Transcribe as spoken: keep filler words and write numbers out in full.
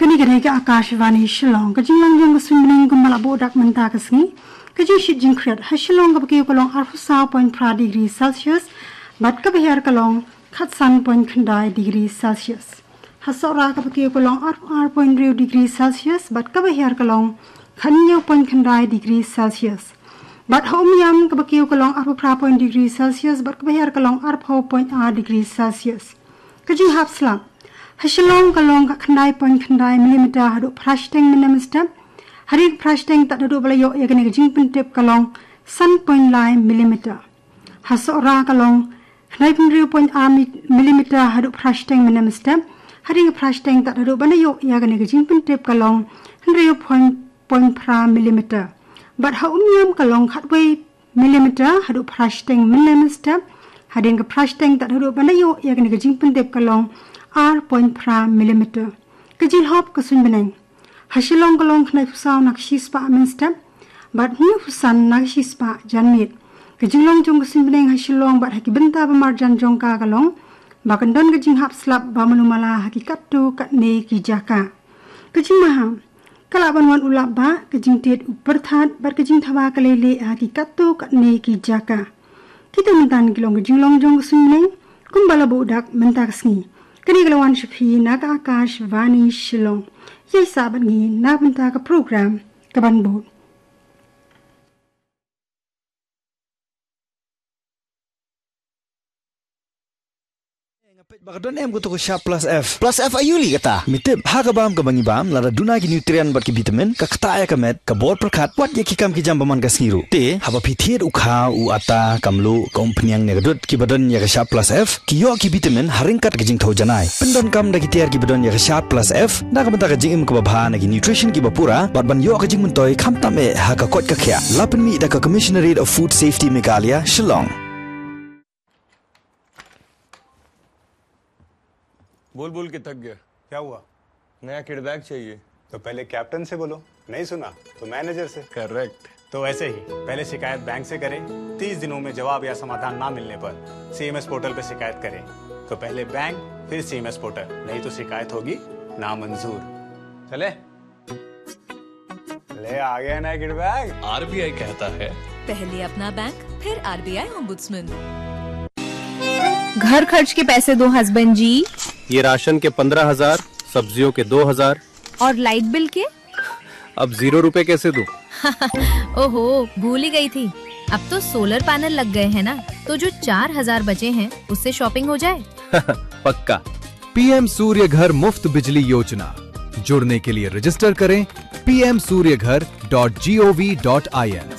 Kane ka dei ka Akashvani Shillong. Ka jinglong jong ka suiñ bneng kumba la buh dak mynta ka sngi. Ka jingshit jingkhriat ha Shillong kaba kiew ka long arphew saw point phra degree Celsius, bad kaba hiar ka long khatsan point khyndai degree Celsius. Ha Sohra kaba kiew ka long arphew ar point hynriew degree Celsius, bad kaba hiar ka long khathynñiew point khyndai degree Celsius. Bad ha Umiam kaba kiew ka long arphew phra point degree Celsius, bad kaba hiar ka long arphew point ar degree Celsius. Ka jinghap slap ha Shillong ka long khatkhyndai point khyndai millimeter haduh phra shiteng mynne mynstep. Hadien ka phra shiteng tad haduh ba la ïoh ïa kane ka jingpyntip ka long san point lai millimeter. Ha Sohra ka long khyndai phew hynriew point ar millimeter haduh phra shiteng mynne mynstep. Hadien ka phra shiteng tad haduh ba la ïoh ïa kane ka jingpyntip ka long hynriew point phra millimeter. Bad ha Umiam ka long khatwei millimeter haduh phra shiteng mynne mynstep. Hadien ka phra shiteng tad haduh ba la ïoh ïa kane ka jingpyntip ka long ar point phra millimeter. Ka jinglop ka suiñ bneng ha Shillong ka long khyndai phew saw na ka shispah mynstep, bad hynñiew phew san na ka shispah janmiet. Ka jinglong jong ka suiñ bneng ha Shillong bad ha ki bynta ba marjan jong ka ka long ba kan don ka jinghap slap ba malu mala ha ki katto katne ki jaka. Ka jingmaha ka lah ban wan u lap bah, ka jingtied u pyrthat, bad ka jingthawa ka leilieh ha ki katto katne ki jaka. Kita mynta ki long ka jinglong jong ka suiñ bneng kumba la buh dak mynta ka sngi. Kane ka la wan sha phi na ka Akashvani Shillong. Ïai sah bad ngi na bynta ka program ka ban bud. Nga peit ba ka don em kato ka Sharp Plus F. Plus F aïu lei kata? Me tip, ha ka bam kaba ngi bam, lada duna ki nutrient bad ki vitamin, ka ktah ïa ka met, ka bor pyrkhat, wat ïa ki kam ki jam ba man ka sngi ruh. Te haba phi thied u kha, u atta, ka mluh, ka umphniang ne ka dud kiba don ïa ka Sharp Plus F, ki ïoh ki vitamin ha ryngkat ka jingthew janai. Pyndonkam da ki tiar kiba don ïa ka Sharp Plus F na ka bynta ka jingim kaba bha, na ki nutrition kiba pura, bad ban ïoh ka jingmyntoi khamtam eh ha ka koit ka khiah. La pynmih da ka Commissionerate of Food Safety Meghalaya, Shillong. बोल बोल के थक गया। क्या हुआ? नया किड बैग चाहिए। तो पहले कैप्टन से बोलो, नहीं सुना तो मैनेजर से। करेक्ट। तो ऐसे ही पहले शिकायत बैंक से करें, तीस दिनों में जवाब या समाधान ना मिलने पर सीएमएस पोर्टल पर शिकायत करें। तो पहले बैंक, फिर सीएमएस पोर्टल, नहीं तो शिकायत होगी नामंजूर। चले? ले, आ गया ना किड बैग। आरबीआई कहता है, पहले अपना बैंक, फिर आरबीआई ओम्बुड्समैन। घर खर्च के पैसे दो हस्बैंड जी। ये राशन के पन्द्रह हजार, सब्जियों के दो हजार। और लाइट बिल के? अब जीरो रुपए कैसे दूं? ओहो, भूल ही गई थी। अब तो सोलर पैनल लग गए हैं ना, तो जो चार हजार बचे हैं, उससे शॉपिंग हो जाए। पक्का। पीएम सूर्य घर मुफ्त बिजली योजना। जुड़ने के लिए रजिस्टर करें पीएम सूर्य घर डॉट जीओवी डॉट आईएन।